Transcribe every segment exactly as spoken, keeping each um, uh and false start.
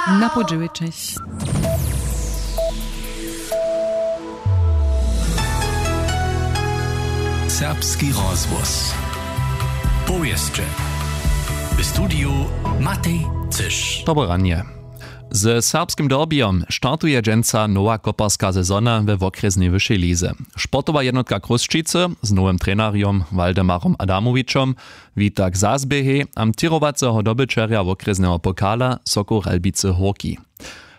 Na pół dźewjećich. Serbski rozhłos. Powěsće. W studiju Matej Cyš. Dobre ranje. Ze serbskim derbijom startuje dźensa nowa koparska sezona we wokrjesnej wyšej lize. Sportowa jednotka Chrósćicy z nowym trenerjom Waldemarom Adamowićom wita k zazběhej amtirowaceho dobyćerja wokrjesneho pokala Sokół Ralbicy Hórki.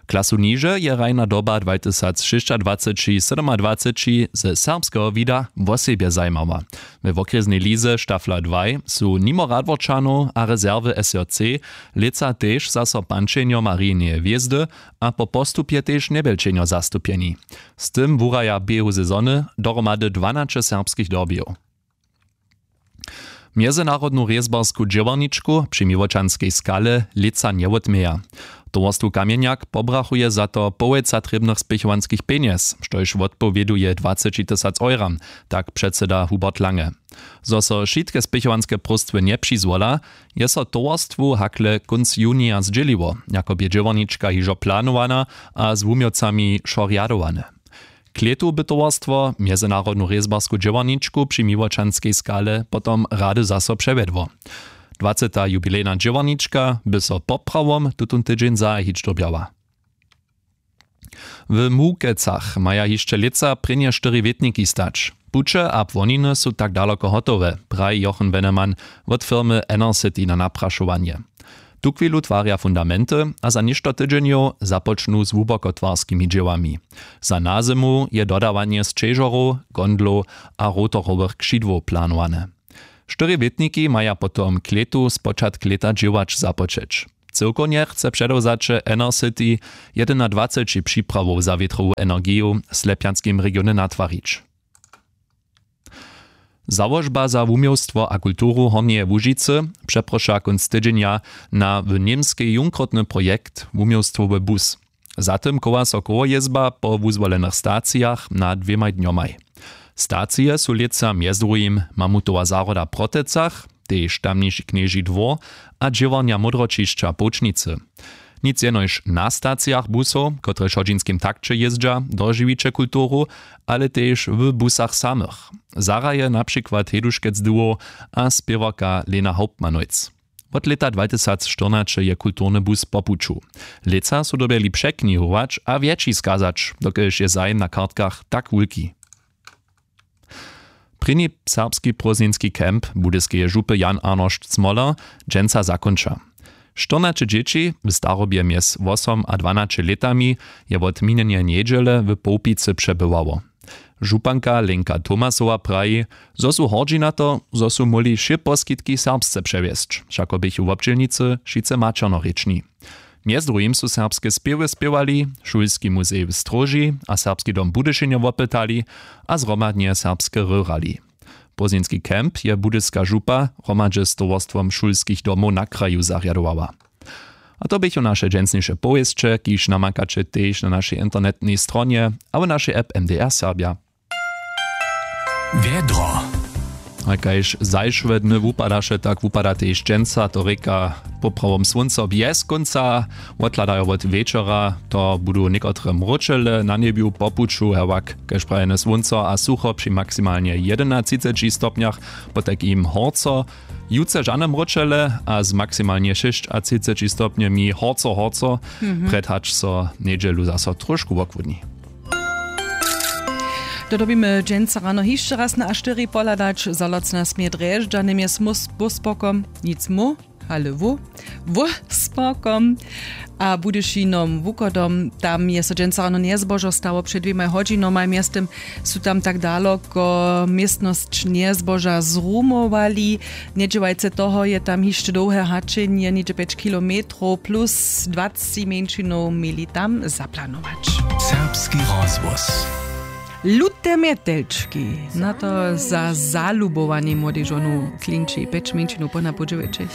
Klasu niže je hrajna doba dwatysacšěsćadwaceći sydomadwaceći ze serbskeho wida wosebje zajimała. We wokrjesnej lize Stafla dwaj su nimo Radworčanow a rezerwy S J C lětsa tež zaso pančenjo Marineje hwězdy a po postupje tež Njebjelčenjo zastupjeni. Z tym wuraja běhu sezony dohromady dwanaće serbskich derbijow. Mjezynarodnu rězbarsku dźěłarničku při Miłočanskej skale lětsa njewotměja. Towarstwu Kamjenjak pobrachuje za to połojca trěbnych spěchowanskich pjenjez, štož wotpowěduje dwaceći tysac euram, tak předsyda Hubert Lange. Zo so wšitke spěchowanske próstwy njepřizwola, je so towarstwu hakle kónc junija zdźěliło, jako bě dźěłarnička hižo planowana a z wuměłcami wšo rjadowane. Klětu by towarstwo mjezynarodnu rězbarsku dźěłarničku při Miłočanskej skale potom rady zaso přewjedło. Dwaceta jubilejna dźěłarnička by so poprawom tutón tydźeń zahajić dyrbjała. W Mukecach maja hišće lětsa prěnje štyri wětniki stać. Puće a płoniny su tak daloko hotowe, praji Jochen Wennemann wot firmy Enercity na naprašowanje. Tuchwilu twarja fundamenty a za něšto tydźenjow započnu z hłubokotwarskimi dźěłami. Za nazymu je dodawanje sćežorow, gondlow a rotorowych křidłow planowane. Štyri wětniki maja potom k lětu spočatk lěta dźěłać započeć. Cyłkownje chce předewzaće Enercity jedynadwaceći připrawow za wětrowu energiju w slepjanskim regionje natwarić. Załožba za wuměłstwo a kulturu Hornjeje Łužicy přeproša kónc tydźenja na w Němskej junkrotny projekt wuměłstwowy bus. Za tym chowa so kołojězba po wuzwolenych stacijach na dwěmaj dnjomaj. Stacije su lětsa mjez druhim Mamutowa zahroda w Protecach, tež tamniši Knježi dwór a dźěłarnja Módroćišća w Połčnicy. Nic jenož na stacijach busow, kotrež w hodźinskim takće jězdźa, dožiwiće kulturu, ale tež w busach samych. Zahraje na přikład Heduškec Duo a spěwarka Lena Hauptmannojc. Wot lěta dwatysacštyrnaće je kulturny bus po puću. Lětsa su dyrbjeli překnihować a wjetši skazać, dokelž je zajim na kartkach tak wulki. Prěni serbski prózdninski camp Budyskeje župy Jan Arnošt Smoler dźensa zakónča. Štyrnaće dźěći w starobje mjez wosom a dwanaće lětami je wot minjeneje njedźele w Połpicy přebywało. Županka Lenka Tomasowa praji, zo su hordźi na to, zo su móhli wšě poskitki serbsce přewjesć, wšako běchu wobdźělnicy wšitcy maćernorěčni. Mjez druhim su serbske spěwy spěwali, šulski muzej w Stróži a Serbski dom Budyšinje wopytali a zhromadnje serbske hry hrali. Prózdninski camp je Budyska župa hromadźe z towarstwom šulskich domow na kraju zarjadowała. A to běchu naše dźensniše powěsće, kiž namakaće tež na našej internetnej stronje a w našej app M D R Serbja. Wjedro. A kaž zašłe dny wupadaše, tak wupada tež dźensa, to rěka poprawom słónco bjez kónca. Wothladajo wot wječora, to budu někotre mróčele na njebju po puću, hewak kaž prajene słónco a sucho při maksimalnje jedynatřiceći stopnjach, potajkim horco. Jutře žane mróčele a z maksimalnje šěsćatřiceći stopnjemi horco, horco. Prjed hač so njedźelu zaso trošku wochłódni. To dyrbimy dźensa rano hišće raz na A štyri pohladać. Zalocna směr Drježdźany mjez Mus-, Buspokom, nic mu, ale wu, Wuspokom a Budyšinom wuchodom. Tam je so dźensa rano njezbožo stało před dwěmaj hodźinomaj. Mjeztym su tam tak daloko městnosć njezboža zrumowali. Njedźěłajce toho je tam hišće dołhe hačenje, něhdźe pjeć kilometrow plus dwaceći mjeńšinow měli tam zaplanować. Serbski rozhłos. Lute mjetelčki. Na to za zalubowanej młodej žonu klinči pjeć mjeńšinow po na pół dźewjećich.